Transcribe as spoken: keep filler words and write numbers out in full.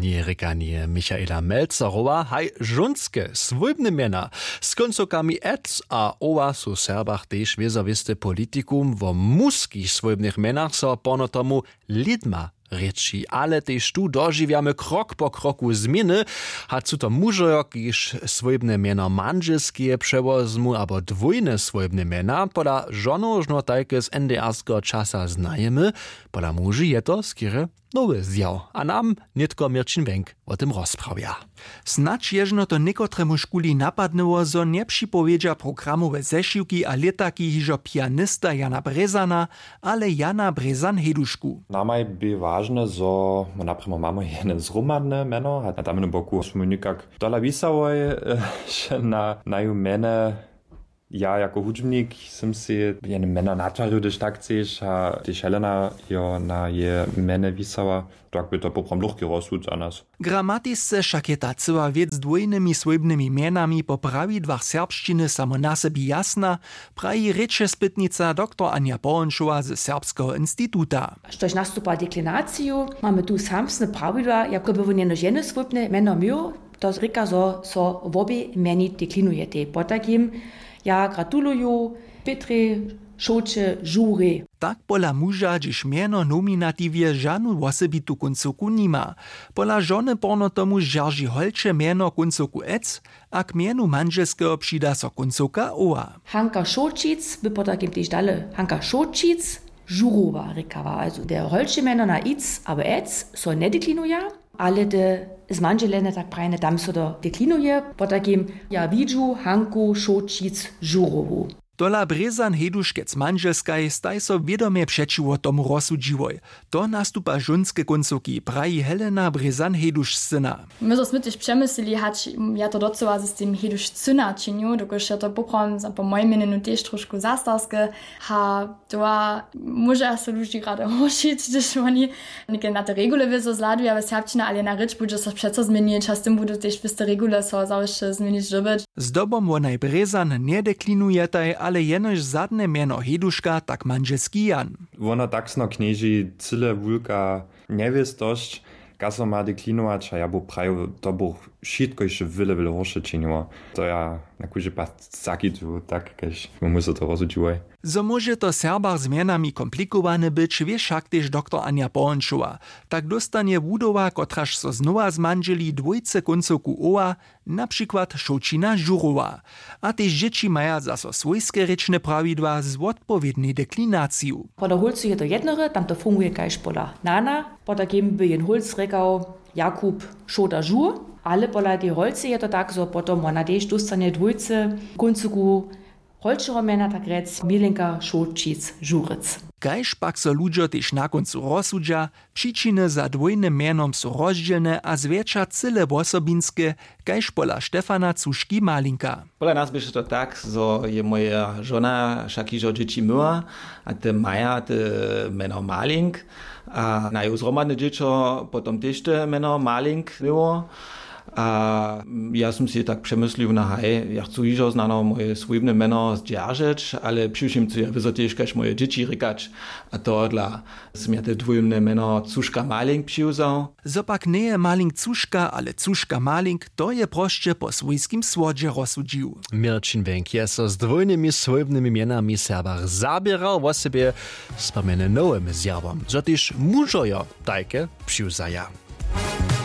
Njerěkanje Michaela Melzerowa, haj žónske swójbne mjena z kóncowkami ec a owa su w Serbach tež wězo wěste politikum. Wo mužskich swójbnych mjenach so porno tomu lědma rěči, ale tež tu dožiwjamy krok po kroku změny. Hač su to mužojo, kiž swójbne mjeno mandźelskeje přewozmu abo dwójne swójbne mjena, pola žonow žno tajke z N D R skeho časa znajemy. Pola muži je to skerje nowy zjaw a nam nětko Měrćin Wenk wo tym rozprawja. Snadź je žno to někotremuž kuli napadnyło, zo njepřipowědźa programowe zešiwki a lětaki hižo pianista Jana Brězana, ale Jana Brězan-Hejdušku. Namaj bě wažne, zo my naprěmo mamy jene zhromadne mjeno a na tamnym boku smy někak tola wisałoj na naju mjene. Ja jako hudźbnik sym sej jene mjeno natwarił, hdyž tak chceš, a tež Helena jo na je mjene wisała, tak by to poprawom lóchki rozsud za nas. Gramatisce wšak je ta cyła wěc z dwójnymi swójbnymi mjenami po prawidłach serbšćiny samo na sebi jasna, praji rěčespytnica doktor Anja Połonšowa ze Serbskeho instituta. Štož nastupa deklinaciju, mamy tu samsne prawidła, jako by wón jenož jene swójbne mjeno měł, to rěka, zo so wobě mjeni deklinujetej. Potajkim ja gratuluju Pětrje, Šołće, Žurje. Tak pola muža, hdźež mjeno w nominatiwje žanu wosebitu kóncowku nima. Pola žony porno tomu zdźerži holče mjeno kóncowku ec a k mjenu mandźelskeho přida so kóncowka owa. Hanka Šołćic by potajkim tež dale Hanka Šołćic Žurowa rěkała. Also te holče mjeno na ic abo ec so njedeklinuja, ale te zmandźelene, tak prajene, tam so to deklinuje. Potajkim ja widźu Hanku Šołćic Žurowu. Tola Brězan-Hejduškec mandźelskaj staj so wědomje přećiwo tomu rozsudźiłoj. To nastupa žónske kóncowki, praji Helena Brězan-Hejdušcyna. My zo smy tež přemyslili, hač ja to docyła z tym Hejdušcyna činił, dokelž je to poprawom za, po mojim měnjenju tež trošku zastarske. Ha, to móže so ludźi rady horšić, hdyž woni něke na te regule wězo zhladuja w serbšćinje, ale na rěč budźe so přeco změnić a z tym budu tež wěste regule so zawěsće změnić dyrbjeć. Zdobom wonaj Brězan njedeklinujetaj, ale jenož zadne mjeno Hejduška, tak mandźelski Jan. Wona taksno knježi cyle wulka njewěstosć, kaž so ma deklinować, a ja bu prajił, to buch wšitko hišće wjele wjele horše činiło. To ja na kóždy pad zakitu tak, kaž my so to rozsudźiłoj. Zo móže to w Serbach z mjenami komplikowane być, wě wšak tež doktor Anja Połonšowa. Tak dóstanje wudowa, kotraž so znowa zmandźeli, dwójce kóncowku owa, na přikład Šołćina Žurowa. A tež dźěći maja zaso swójske rěčne prawidła z wotpowědnej deklinaciju. Pola hólcu je to jednore, tam to funguje kaž pola nana. Potajkim by jen hólc rěkał Jakub Šołta Žur, ale pola tej holcy je to tak, zo potom wona tež dóstanje dwójce kóncoku holčeho mjena, tak rjec Milenka Šołćic Žurec. Kaž pak so ludźo tež na kóncu rozsudźa, přičiny za dwójnym mjenom su rozdźělne a zwjetša cyle wosobinske, kaž pola Štefana Cuški-Malinka. Pola nas běše to tak, zo je moja žona wšak hižo dźěći myła, a te maja te mjeno Malink, a naju zhromadne dźěćo potom tež te mjeno Malink měło. A ja sym sej tak přemyslił, na haj, ja chcu hižo znano moje swójbne mjeno zdźeržeć, ale přiwšěm chcu ja wězo tež kaž moje dźěći rěkać. A tohodla sym ja te dwójbne mjeno Cuška-Malink přiwzał. Zo pak njeje Malink Cuška, ale Cuška-Malink, to je prosće po swójskim słodźe rozsudźił. Měrćin Wenk je so z dwójnymi swójbnymi mjenami w Serbach zaběrał, wosebje z pomjeny nowym zjawom, zo tež mužojo tajke přiwzaja.